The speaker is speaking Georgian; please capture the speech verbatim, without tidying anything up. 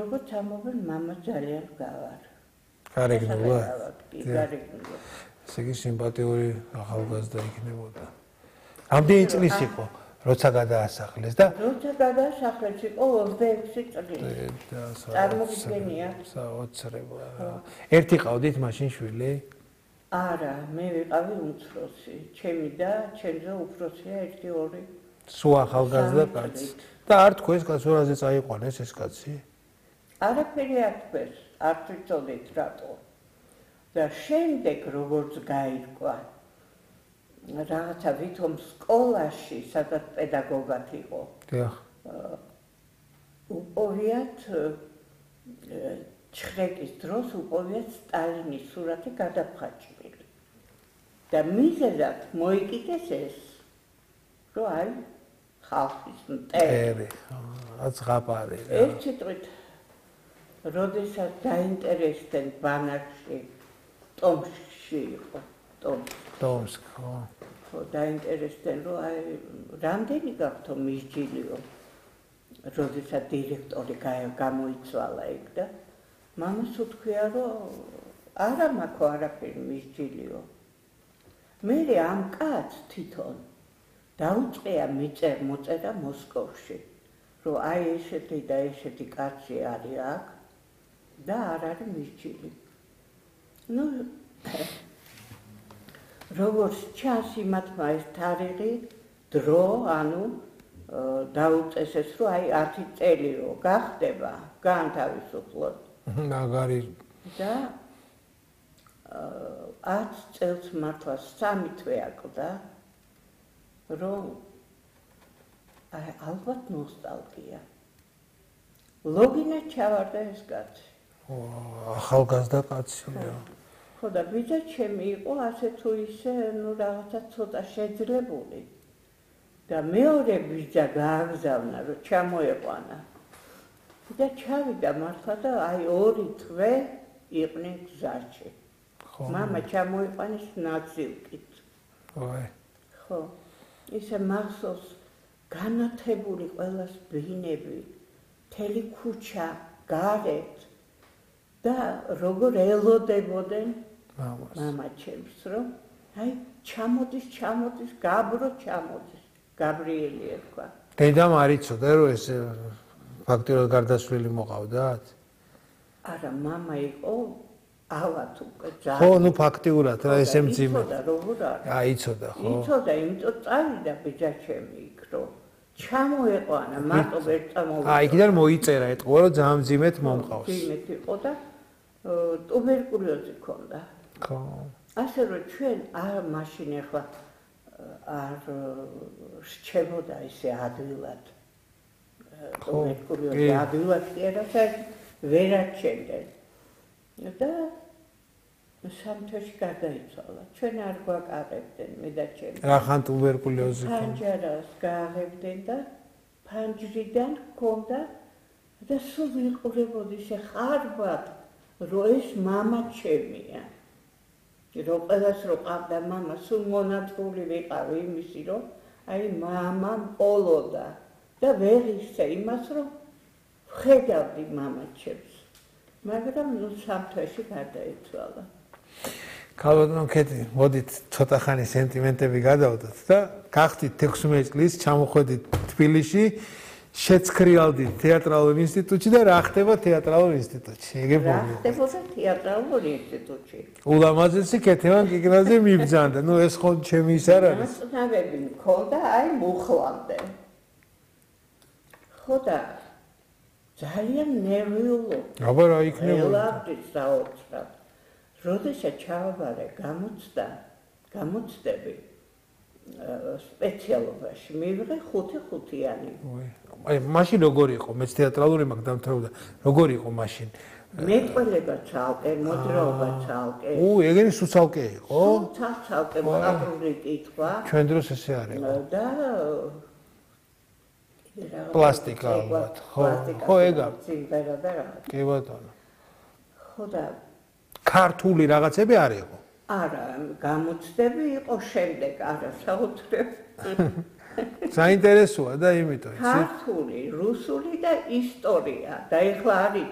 როგორც ამობენ, მამა ძალიან გავარ. გარეგნულად. კი, გარეგნულად. ესე იგი სიმპათიური ახალგაზრდა იქნებოდა. რამდენი წლის იყო, როცა გადაასახლეს და როცა გადაასახლეს იყო ოცდაექვსი წელი. წარმოგიდგენია? საოცრება რა. ერთი ყავდით მაშინ შვილი? არა, მე ვიყავი უმცროსი. ჩემი და ჩემზე უფროსია ერთი ორი. სულ ახალგაზრდა კაცი. და არ თქვენს კაცურაზე წაიყვანეს ეს კაცი? არაფერი არ თქვენს, არ ვიცოდით რატო. და შემდეგ როგორც გაირკვა რაღაცა ვითომ სკოლაში, სადაც პედაგოგად იყო. დიახ. უპოვიათ ჩხრეკის დროს უპოვიათ სტალინის სურათი გადაფხაჭილი. და მიზეზად მოიკიდეს ეს, რომ აი ხალხის მტერი. აძღაპარი რა. ერთი წვით როდესაც დაინტერესდნენ ბანაკში, ტომსკში იყო, ტომსკ, ხო. ხო, დაინტერესდნენ, რომ აი რამდენი გაქვთო მისჯილიო, როდესაც დირექტორი გამოიცვალა იქ და მამას უთქვია, რომ არა მაქვს არაფერი მისჯილიო. მე ამ კაცს თვითონ დაუწყია მიწერ მოწერა მოსკოვში, რომ აი ესეთი და ესეთი კაცი არის აქ და არ არის მისჯილი. ნუ როგორც ჩანს იმათმა ეს თარიღი, დრო, ანუ დაუწეს ეს, რომ აი ათი წელიო გახდება განთავისუფლოთ. მაგარი და ათ წელს მართლა სამი თვე აკლდა, რომ აი ალბათ ნოსტალგია. ლოგინად ჩავარდა ეს კაცი. ახალგაზრდა კაცია. ხო და ბიძა ჩემი იყო ასე თუ ისე, ნუ რაღაცა ცოტა შეძლებული. და მეორე ბიძა გააგზავნა, რომ ჩამოეყვანა. და ჩავიდა მართლა და აი ორი თვე იყვნენ გზაში. მამა ჩამოიყვანეს ნაცილკით. ой. ხო. ისე მახსოვს განათებული ყველას ბინები, მთელი ქუჩა გარეთ და როგორ ელოდებოდნენ მამა ჩემს, რომ აი ჩამოდის, ჩამოდის, გაბრო ჩამოდის, გაბრიელი ერქვა. დედამ არ იცოდა, რომ ეს ფაქტიურად გარდაცვლილი მოყავდათ? არა, მამა იყო ავად უკვე ძალიან. ხო, ნუ ფაქტიურად რა ესე მძიმე. იცოდა როგორ არის. აი, იცოდა, ხო. იცოდა, იმიტომ წავიდა ბიძა ჩემი იქ, რომ ჩამოეყვანა, მარტო ვერ წამოვიდა. აი, იქიდან მოიწერა ეთყობა, რომ ძალიან მძიმეთ მომყავს. მძიმეთ იყო და ტუბერკულოზი ჰქონდა. ხო. ასე რომ ჩვენ არ მაშინ ახლა არ რჩებოდა ისე ადვილად. ტუბერკულოზი ადვილად კი არა, ვერ აჩენდნენ. და სამთოში გარდაიცვალა. ჩვენ არ გვაკარებდნენ, მე და ჩემი. რახან ტუბერკულოზი ჰქონდა? ფანჯარას გააღებდნენ და ფანჯრიდან ჰქონდა და სულ ვიყურებოდი ისე ხარბად, რომ ეს მამა ჩემია. რომ ყველას რო ყავდა მამა, სულ მონაწილე ვიყავი იმისი, რომ აი მამა მყოლოდა და ვერ ისე იმას, რომ ვხედავდი მამა ჩემს. მაგრამ ნუ სამთვეში გარდაიცვალა. ქალბატონო ქეთი, მოდით ცოტა ხანი სენტიმენტები გადავდოთ და გახდით ექვსმეტ წლის, ჩამოხვედით თბილისში, შეცქრიალდით თეატრალურ ინსტიტუტში და რა ხდება თეატრალურ ინსტიტუტში? ეგ რა ხდებოდა თეატრალურ ინსტიტუტში? ულამაზესი ქეთევან კიკნაძე მიბრძანდა. ნუ ეს ხო ჩემი ის არ არის. ნაცნავები მქონდა, აი მუხლამდე. ხო და ძალიან ნერვიულო. აბა რა იქნებოდა? ელავდის საოცრად. როდესაც ჩავაბარე გამოცდა, გამოცდები სპეციალობაში მივიღე ხუთი ხუთიანი. აი, მაშინ როგორი იყო? მეც თეატრალური მაგ დამთავრდა. როგორი იყო მაშინ? მეტყველება ცალკე, მოძრაობა ცალკე. უ, ეგენი სუცალკე იყო? ცალკე მოყავრი კითხვა. ჩვენ დროს ესე არის. და პლასტიკა ალბათ. ხო, ხო ეგა. სიმღერა და რა. კი ბატონო. ხო და ქართული რაღაცები არ იყო? არა, გამოცდები იყო შემდეგ, არა, საოცრად. საინტერესოა და იმიტომ, იცი? ქართული, რუსული და ისტორია და ეხლა არის